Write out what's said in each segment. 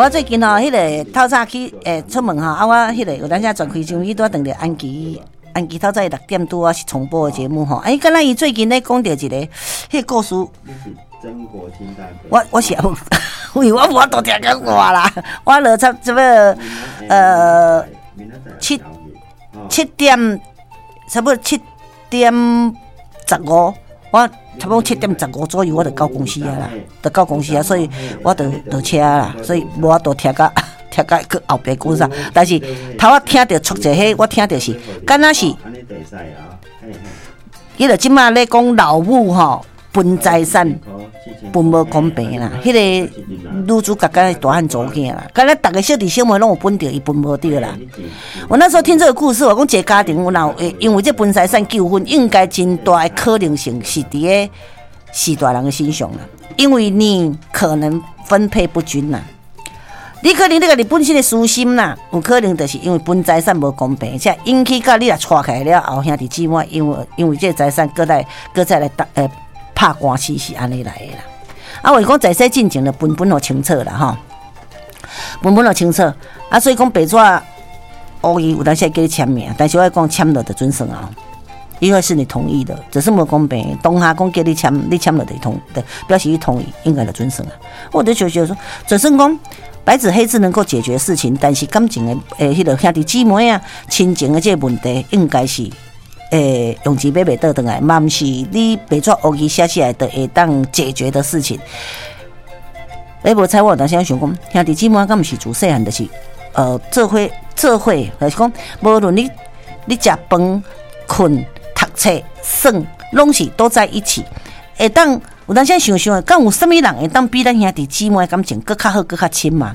我最近吼，彼个透早去出門吼，啊，我彼個有當時轉開箱，去拄拄著安琪，安琪透早6點拄仔是重播的節目吼。欸，敢若伊最近咧講著一个彼個故事。我是因為我無法度聽講話啦，我落差這個7點差不多7點15，我差不多7點15左右我就到公司啊啦，就到公司啊，所以我就落車啦，所以無法度聽甲去後壁講啥。但是頭仔聽著出一個，我聽著是，敢若是，彼個這馬咧講老母吼分財產分無公平啦，彼個女主角佮大漢查某囝啦，敢若逐个小弟小妹攏有分著，伊分無著啦。我那時候聽這個故事，我講一個家庭有若會因為這分財產糾紛，應該真大的可能性是佇咧序大人的身上啦，因為你可能分配不均啦。你可能你家己本身的私心啦，有可能就是因為分財產無公平，才引起到你若娶起來了後，兄弟姊妹因為這個財產閣再來拍官司是按呢來的啦。啊，話講在說進前就分分予清楚啦吼，分分予清楚。啊，所以講白紙烏字有當時會叫你簽名，但是我講簽落就準算啊，因為是你同意的，只是無公平。當下講叫你簽，你簽落就同，表示你同意，應該就準算啊。我就覺得說，就算講白紙黑字能夠解決事情，但是感情的彼個兄弟姊妹啊、親情的這個問題，應該是用錢買袂倒轉來，嘛毋是你白紙烏字寫起來就會當解決的事情。欸，無彩我有當時想講，兄弟姊妹敢毋是自細漢就是，做伙，就是講，無論你食飯、睏、讀冊、耍，攏是都在一起。會當有當時想想，敢有啥物人會當比咱兄弟姊妹感情閣較好、閣較親嘛？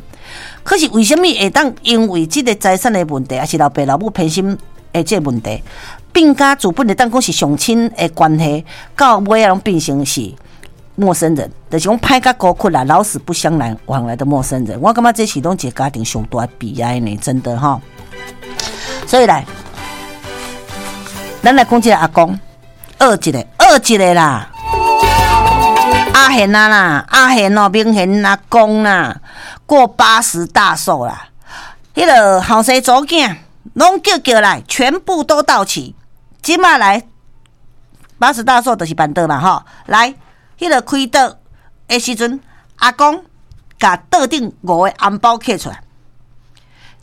可是為啥物會當因為這個財產的問題，抑是老爸老母偏心的這個問題，變甲自本會當講是上親的關係，到尾仔攏變成是陌生人，就是講歹甲孤苦啦，老死不相來往來的陌生人。我感覺這是攏一個家庭上大的悲哀呢，真的吼。所以來，咱來講這個阿公，學一个，學一个啦。阿賢啊啦，阿賢哦，明賢阿公啦，過80大壽啦。彼個後生查某囝攏叫叫來，全部都到齊。這馬來八十大壽就是辦桌嘛吼，來，彼個開桌的時陣，阿公共桌頂五個紅包揢出來，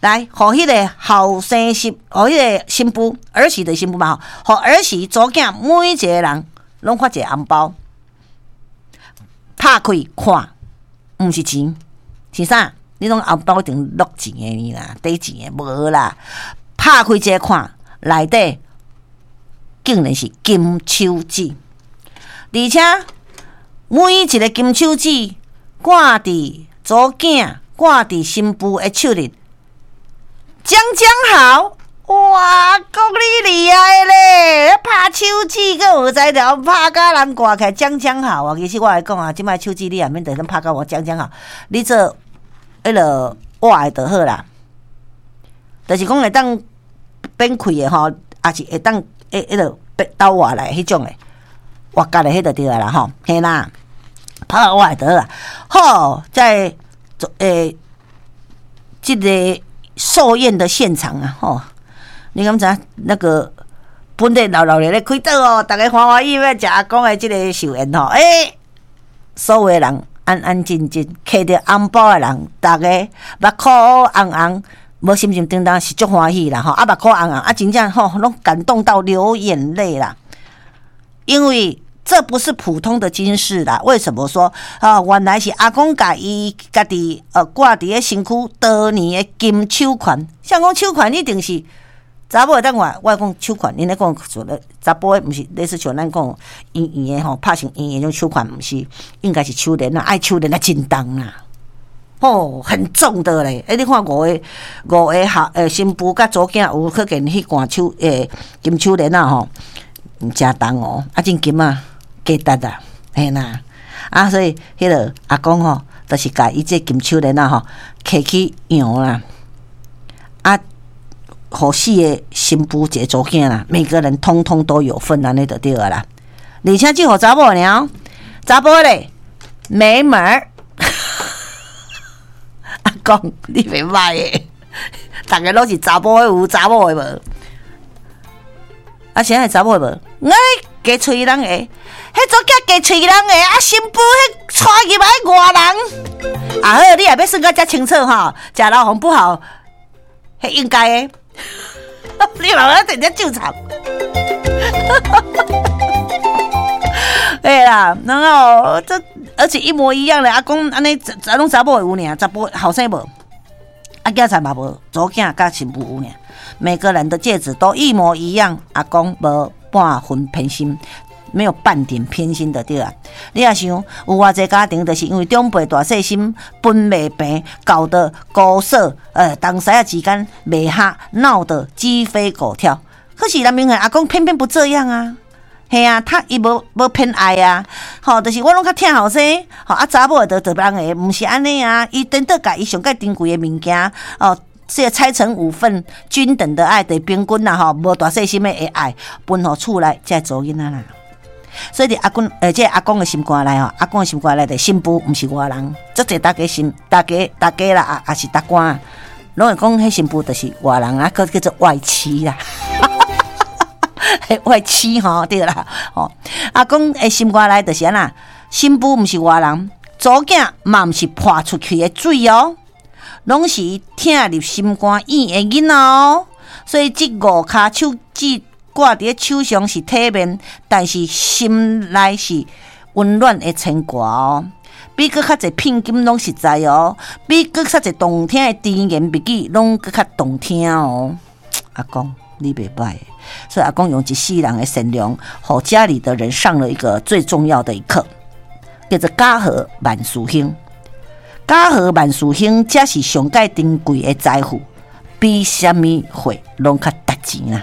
來，予彼個後生媳，予彼個新婦兒媳的新婦嘛吼，予兒媳查某囝每一個人攏發一個紅包，拍開看，毋是錢，是啥？你攏紅包頂落錢的呢啦，底錢的無啦，拍開一个看，內底竟然是金手指，而且每一個金手指掛佇查某囝、掛佇新婦的手裡，剛剛好。哇，講你厲害咧！拍手指閣有才調，拍甲人掛起來剛剛好啊！其實我來講啊，這擺手指你也免得拍甲我剛剛好，你做彼个活的就好啦。就是講會當變開的吼，抑是會當彼个倒活來彼種的，活結的彼就對啊啦吼，嘿啦，拍活的就好啦。好，在這个壽宴的現場啊，吼，你敢知影那個本來熱鬧咧開桌哦，逐家歡歡喜喜欲食阿公的這个壽宴吼，欸，所有的人安安靜靜，揢著紅包的人，逐家目箍紅紅，無心情當當是足歡喜啦吼，啊目箍紅紅，啊真正吼攏感動到流眼淚啦，因為這不是普通的金飾啦。為什麼說啊？原來是阿公共伊家己掛佇咧身軀多年的金手環，像講手環一定是查某會當換，我講手環，恁咧講說咧查埔的，毋是類似像咱講圓圓的吼，拍成圓圓種手環，毋是應該是手鏈啊，愛手鏈啊真重啦，吼，很重的咧。欸，你看五個後新婦佮查某囝有可見彼掛手金手鏈仔吼，誠重哦，啊真金啊，價值啊，嘿啦，啊所以彼个阿公吼，就是共伊這金手鏈仔吼，揢去讓啦，啊。予四个新婦一個查某囝啦，每個人通通都有份按呢就對啦。而且只予查某爾，查埔咧沒門兒。阿講，你袂䆀的，逐个攏是查某的有，查某的無。啊，啥會查某的無？哎，雞喙人的，彼查某囝雞喙人的，啊，新婦彼娶入來外人。啊好，你也欲算甲遮清楚吼，食老房不好，彼應該的。你老來直接就場。對啦，然後這而且一模一樣的，阿公按呢，攏查某的有爾，查埔後生無，啊囝仔嘛無，查某囝佮新婦有爾，每個人的戒指都一模一樣，阿公無半分偏心，沒有半點偏心的對啊。你也想，有偌濟家庭，就是因為長輩大細心分袂平，搞得姑嫂東西仔之間袂合，鬧得雞飛狗跳。可是南明的阿公偏偏不這樣啊。嘿啊，他伊無無偏愛啊，吼，就是我攏較疼後生，吼啊查某的就別人的，毋是按呢啊，伊顛倒共伊上蓋珍貴的物件，哦，這個拆成五份均等的愛，就平均啦吼，無大細心的愛分予厝內這查某囡仔啦。所以佇阿公，這個阿公的心肝內吼，阿公的心肝內的新婦毋是外人，足濟大家心，大家大家啦，也是大官，攏會講彼新婦就是外人啊，閣叫做外妻啦。外妻吼，對啦，吼，阿公的心肝內就是按怎，新婦毋是外人，查某囝嘛毋是潑出去的水哦，攏是疼入心肝院的囡仔哦。所以這五跤手指掛佇咧手上是體面，但是心內是溫暖的牽掛哦。比閣較濟聘金攏實在哦，比閣較濟動聽的甜言蜜語攏閣較動聽哦。阿公，你袂䆀，所以阿公用一世人的善良，予家裡的人上了一個最重要的一課，叫做家和萬事興。家和萬事興，才是上蓋珍貴的財富，比啥物貨攏較值錢啊！